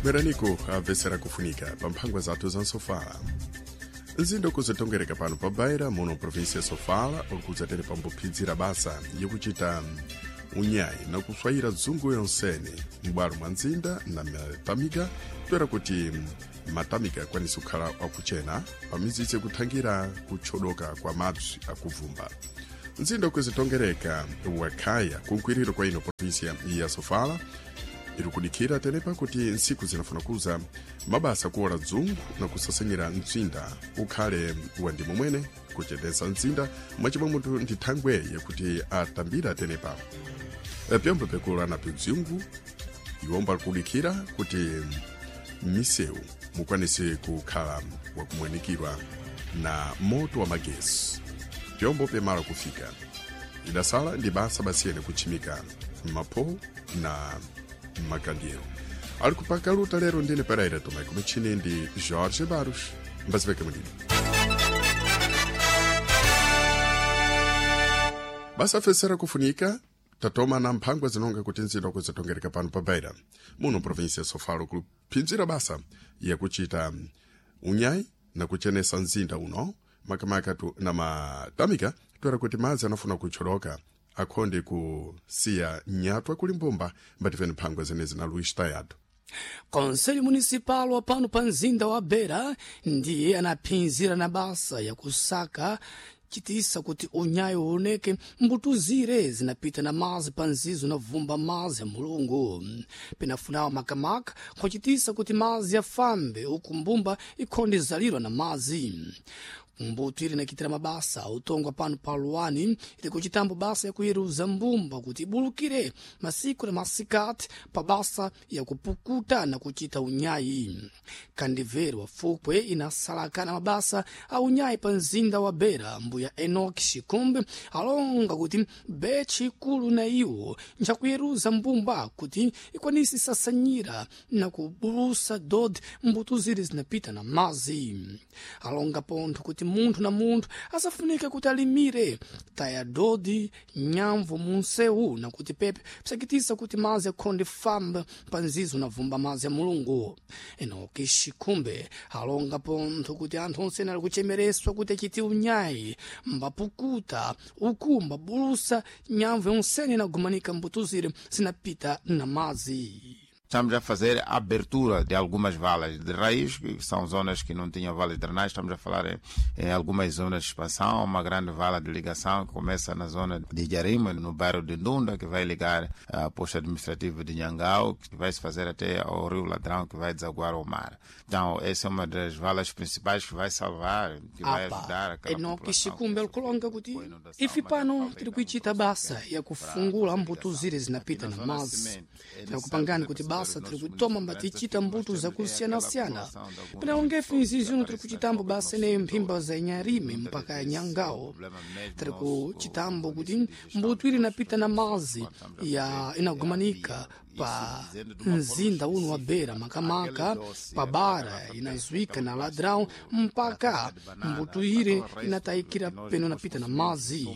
Bweraniko amvetsera kufunika pa mphangwa zathu za nsofala. Mzinda ukuzitongereka pano pa Beira muno provinsia ya Sofala ukudzatere pambophidzira basa yakuchita unyayi na kuswayira dzungu yonsene m'bwalo mwa mzinda na matamika toera kuti matamika akwanise kukhala akuchena pamizitsi kuthangira kutchodoka kwa madzi akuvumba. Mzinda ukuzitongereka wakhaya kunkwiriro kwa ino provinsia ya Sofala iri kudikhira tenepa kuti ntsiku zinafuna kuza mabasa kuola dzungu na kusasanyira mtsinda ukhale wa ndimo mwene kuchenesa mtsinda mwachimwe munthu ndi thangwe yakuti atambira tenepa. Pyombo pikula na pidzungu iwomba kudikhira kuti misewu mukwanise kukhala wakumwenikirwa na moto wa magesi pyombo pyamala kufika idasala ndi basa basiyene kutchimika mapho na makandiero ali kupaka luta lero ndine Pereira Tomé kumichini ndi Jorge Barros mbaziveke mulino. Basa afesera kufunika tatoma na mphangwa zinonga kuti nzinda kuzitongereka pano pa Beira muno provinsia ya Sofala kuphinzira basa yakuchita unyayi na kuchenesa mzinda uno makamaka tu na matamika toera kuti madzi anafuna kutcholoka akhonde kusiya nyatwa kuli mbumba mbatifeni mphangwa zenezi na Luís Tayado. Conselho Municipal wa pano pa mzinda wa Beira ndiye anaphinzira na basa yakusaka chitisa kuti unyayo uoneke mbutuzire zinapita na mazi pa nzizo na vumba mazi ya mulungu pinafunawo makamaka nkhwacitisa kuti mazi yafambe uku mbumba ikhonde zalirwa na mazi. Mbuto ili nakitira mabasa utongwa pano pa luwani ili kuchitambo basa yakuyeruza mbumba kuti ibulukire masiku na masikati pa basa yakupukuta na kuchita unyayi. Kandiveri wa fukwe inasalakana mabasa a unyayi pa mzinda wa Beira mbuya Enoch Shikumbe alonga kuti bechi ikulu na iwo nchakuyeruza mbumba kuti ikwanise sasanyira na kubulusa dodi mbuto zili zinapita na mazi. Alonga pontho kuti munthu na munthu asafunike kuti alimire taya dodi nyamvu munsewu na kuti pepe psakitisa kuti mazi akhonde famba pa nzizo na vumba mazi ya mulungu. Enoki Shikumbe alonga pontho kuti anthu onse ali kuchemereswa kuti achite unyayi mbapukuta uku mbabulusa nyamvu yonsene inagumanika mbutuzire zinapita na mazi. Estamos a fazer a abertura de algumas valas de raiz, que são zonas que não tinham valas de drenagem. Estamos a falar em algumas zonas de expansão, uma grande vala de ligação que começa na zona de Jarima, no bairro de Ndunda, que vai ligar a posto administrativo de Nhangau, que vai se fazer até ao Rio Ladrão, que vai desaguar ao mar. Então, essa é uma das valas principais que vai salvar, que vai ajudar aquela Enoki população. Shikumbe alikulonga kuti ife pano tiri kuichita basa yakufungula mbuto zire zinapita na mazi. Tinakupangani kuti basa tiri kutoma mbatichita mbuto zakusiyanasiyana pinalongefe izi zino tiri kuchitambo basa ineyo mphimba za Inyarime mpaka ya Nyangawo. Tiri kuchitambo kuti mbuto ili inapita na mazi ya inagumanika pa mzinda uno wa Beira makamaka pa bara inazwika na Ladrão mpaka mbuto ire inatayikira peno napita na mazi.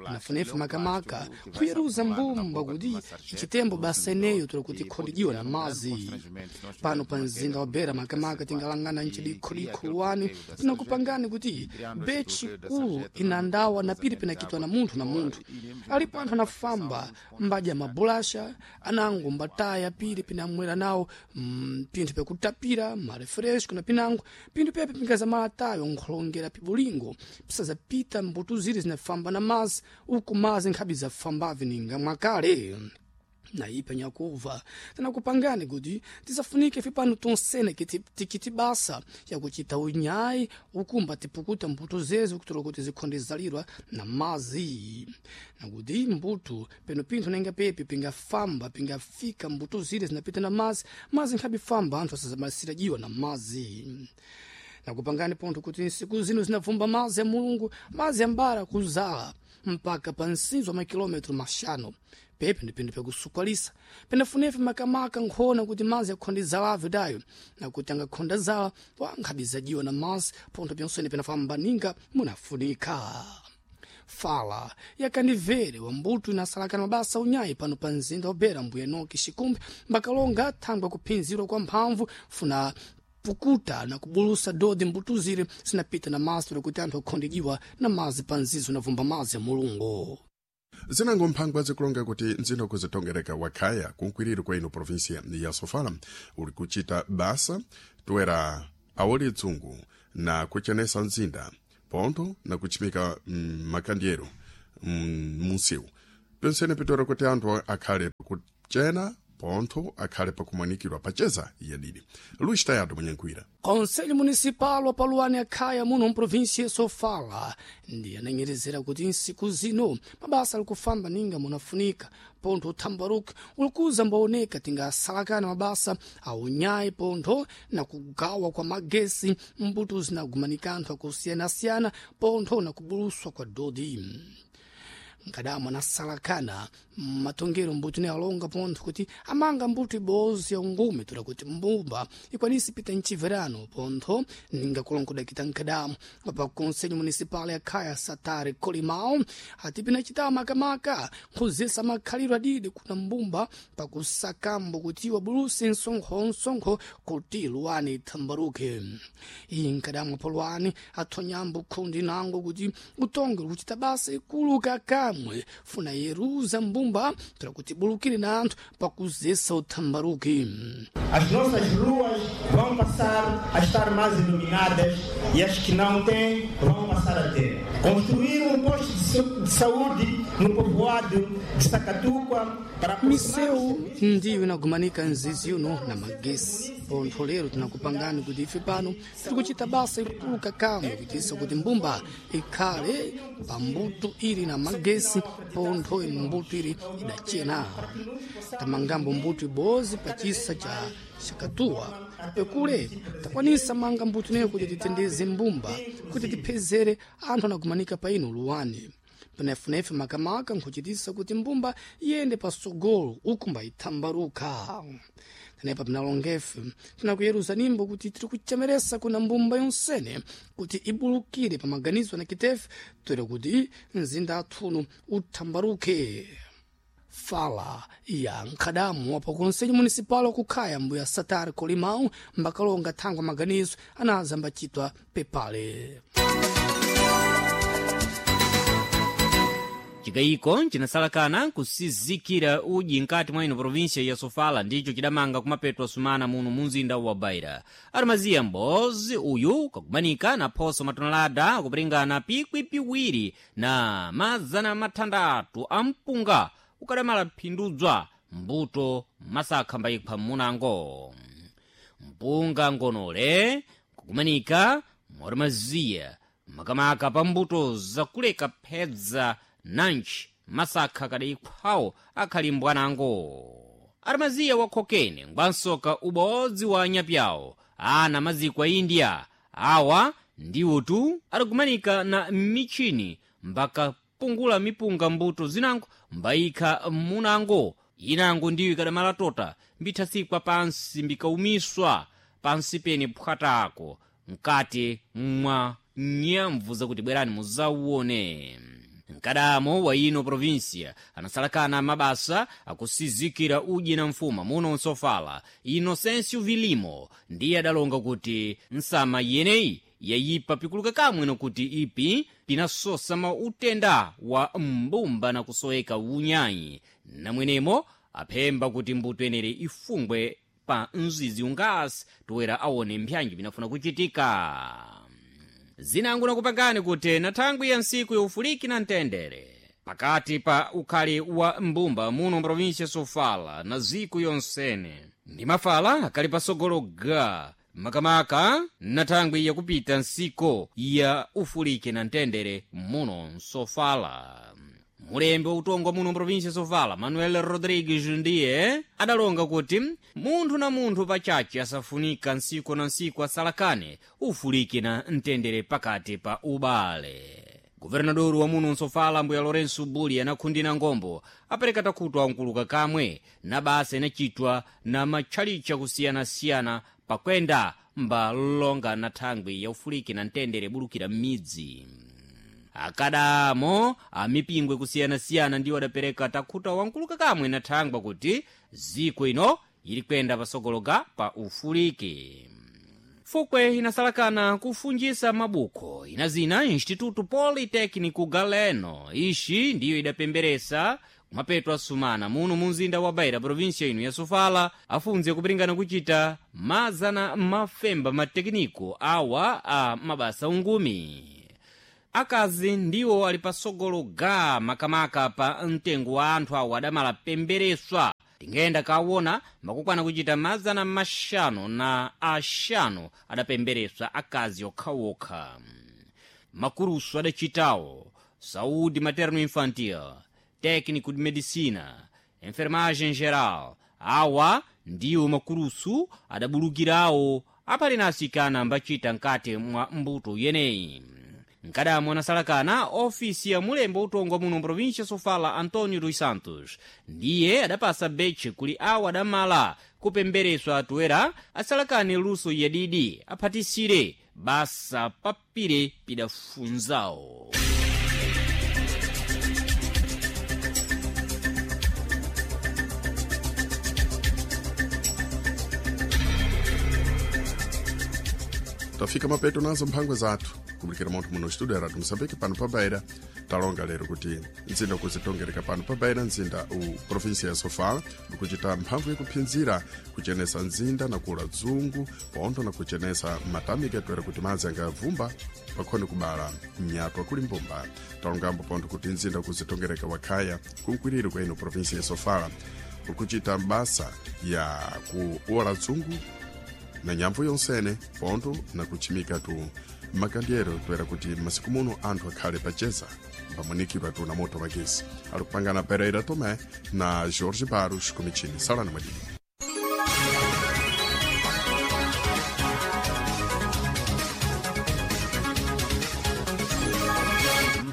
Pinafunefe makamaka kuyeruza mbumba kuti ichitembo basa ineyo tiri kuti ikhondijiwa na mazi. Pano pa mzinda wa Beira makamaka tingalangana nchidikhodikho luwani tinakupangani kuti bechi kulu inandawa na pili pinakitwa na munthu na munthu. Alipo anthu anafamba mbadya mabulasha anango mbataya pili pinamwera nawo pinthu pyakutapira marefresco na pinango pinthu pepe pingazamala tayo nkholongera pibulingo pisazapita mbuto zili zinafamba na mazi uku mazi nkhabi zafambave ninga mwakale. Naipa nyakuva tinakupangani kuti tisafunike ife pano tonsene tikiti basa yakuchita unyayi ukumba tipukuta mbuto zezi kutola kuti zikhonde zalirwa na mazi nakuti mbuto peno pinthu nenga pepe pingafamba pingafika mbuto zile zinapita na mazi mazi nkhabe famba anthu asazamalisira jiwa na mazi. Nakupangani pontho kuti nsiku zino zinavumba mazi ya mulungu mazi ambara kuzala mpaka pa nsinzo wa makilometro maxanu pepe ndi pinthu pyakusukwalisa penafunefe makamaka nkhona kuti mazi akhonde zalave dayo nakuti angakhonda zala wankhabizajiwa na mazi pontho pyonsene penafamba ninga munafunika. Fala yakandivere wa mbuto inasalakana mabasa unyayi pano pa mzinda wa Beira mbuya Enoki Xikumbi mbakalonga thangwe kuphinzirwa kwa mphamvu funa pukuta na kubulusa dodi mbuto zire zinapita na mazi kuti anthu akhondijiwa na mazi pa nzizo na vumba mazi ya Mulungu. Zinango mphangwa zikulonga kuti mzinda kuzitongereka wakhaya kunkwiriri kwa ino provinsia ya Sofala uli kuchita basa toera awoli dzungu na kuchenesa mzinda pontho na kuchimika makandyero munsiwu pensene pitora kuti anthu akhale pakuchena pontho akhale pakumanikirwa pacheza yadidi. Luis Tayado Munyankhwira. Conselho Municipal wa Paluane Akhaya muno mprovinsia Sofala ndi ananyerezera kuti nsiku zino mabasa ali kufamba ninga munafunika pontho uthambaruke ulikuza mbaoneka tingasalakana mabasa aunyayi pontho na kugawa kwa magesi mbuto zinagumanika anthu akusiyana-siyana pontho na kubuluswa kwa dodi. Nkadamo anasalakana matongero mbuto ne alonga pontho kuti amanga mbuto ibozi ya ungume toda kuti mbumba ikwanise pita mchiverano pontho ninga kulongodakita nkadamo pa conselho municipal ya Khaya Satare Colimao ati pinachita makamaka nkhuzisa makhaliro adidi kuna mbumba pakusakambo kuti wabuluse msonkho kuti luwani ithambaruke. Iyi nkadamo polwani athonyambo khundi nango kuti utonge kuchita basa ikulu kakamwe funa yeruza mbumba toda kuti bulukire na anthu pakuzesa uthambaruke. As nossas ruas vão passar a estar mais iluminadas e as que não têm vão passar a ter. Construir um posto de saúde no povoado de Sacatuca para Miseu ndiyo inagumanika nzizi uno na magesi pontho lero tinakupangani kuti ife pano tiri kuchita basa ikulu kakamwe kuitisa kuti mbumba ikhale pa mbuto ili na magesi pontho ili mbuto ili idachena. Tamangambo mbuto ibozi pa chisa cha Shakatuwa pekule takwanisa manga mbuto neyo kuti titendeze mbumba kuti tiphezere anthu anagumanika pa ino luwani penefunefe makamaka nkhuchitisa kuti mbumba iyende pasogolo ukumba ithambaruka. Tenepa pinalongefe tinakuyeruza nimbo kuti tiri kuchemeresa kuna mbumba yonsene kuti ibulukire pa maganizo na kitefe toera kuti mzinda athuno uthambaruke. Fala ya nkhadamu wa pa conselho municipal wakukhaya mbuya Satare Colimão mbakalonga thangwa maganizo anaza mbachitwa pepale. Chikayiko chinasalakana kusizikira udyi nkati mwa ino província ya Sofala ndicho chidamanga kumapetwa sumana muno munzinda wa Beira. Armaziya m'bozi uyu kakumanika na phoso matonelada akupiringana pikwi piwiri na 600 a mpunga ukadamala phindudzwa mbuto masakha mbayipha mmunango. Mpunga ngonole kukumanika mwarmaziya makamaka pa mbuto zakuleka phedza nanji masakha kadayikhwawo akhali mbwanango. Armaziya wakhokene ngwansoka ubodzi wa anyapyawo ana maziko a India awa ndiwotu adakumanika na michini mbakapungula mipunga mbuto zinango mbayikha munango inango ndiyo ikadamala tota mbithasikwa pansi mbikaumiswa pansi pene phwatako mkati mwa nyamvu zakuti bwerani muzauone. Mkadamo wa ino província anasalakana mabasa akusizikira udyi na mfuma muno nsofala Inocêncio Vilimo ndiye adalonga kuti nsama yeneyi yayipa pikuluka kamwe nokuti ipi pinasosa mautenda wa mbumba na kusoweka unyayi namwenemo aphemba kuti mbuto yenere ifungwe pa mzizi ungasi toera aone mpyanji pinafuna kuchitika. Zinango nakupangani kuti na thangwi ya ntsiku yaufuliki na mtendere pakati pa ukhali wa mbumba muno mprovinsia Sofala na ziko yonsene ndi mafala akali pasogolo ga makamaka na thangwi yakupita ntsiko ya ufuliki na mtendere muno Nsofala. Mulembi wa utongo muno mprovinsia Sofala Manuel Rodrigues ndiye adalonga kuti munthu na munthu pachache asafunika ntsiku na ntsiku asalakane ufuliki na mtendere pakati pa ubale. Guvernadoru wa muno Nsofala mbuya Lourenço Buli anakhundina ngombo apereka takhutwa ankuluka kamwe na basa inachitwa na matchalichi akusiyana-siyana pakwenda mbalonga na thangwi ya ufuliki na mtendere bulukira m'midzi. Akadamo amipingwe kusiyanasiyana ndiwo adapereka takhuta wankuluka kamwe na thangwa kuti ziko ino ili kuyenda pasogologa pa ufuliki. Fukwe inasalakana kufunjisa mabukho ina zina Instituto Politécnico Galeno. Ixi ndiyo idapemberesa kumapeto asumana muno mu mzinda wa Beira, província ino ya Sofala, afunze kupiringana kuchita mazana mafemba matekiniko awa a mabasa ungumi. Akazi ndiwo ali pasogolo ga makamaka pa mtengo wa anthu awo adamala pembereswa. Tingayenda kawona makukwana kuchita 500 adapembereswa akazi okhaokha. Makurusu adachitawo saúde materno infantil, técnico de medicina, enfermagem geral, awa ndiwo makurusu adabulukirawo apali na asikana ambachita nkati mwa mbuto yeneyi. Nkadamo anasalakana ofisi ya mulembo utongwa muno província Sofala, Antonio dos Santos, ndiye adapasa betche kuli awo adamala kupembereswa atuera asalakane luso yadidi aphatisire basa papire pidafunzawo. Tafika mapeto nazo mphangwa zathu kubulikira montho muno studio ya Radio Moçambique pano pa Beira. Talonga lero kuti mzinda ukuzitongereka pano pa Beira, mzinda u província ya Sofala, ukuchita mphamvu yakuphinzira kuchenesa mzinda na kula dzungu pontho na kuchenesa matamika toera kuti madzi angavumba pakhone kubala mnyatwa kuli mbumba. Talongambo pontho kuti mzinda ukuzitongereka wakhaya kunkwiriri kwa ino província ya Sofala ukuchita mbasa ya kuola dzungu na nyamvu yonsene pontho na kuchimika tu makandyero toera kuti masiku muno anthu akhale pacheza pamunikidwa tu na moto magesi. Ali kupangana Pereira Tomé na Jorge Barros kumichini. Salani mwadidi.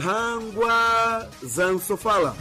Mphangwa za Nsofala.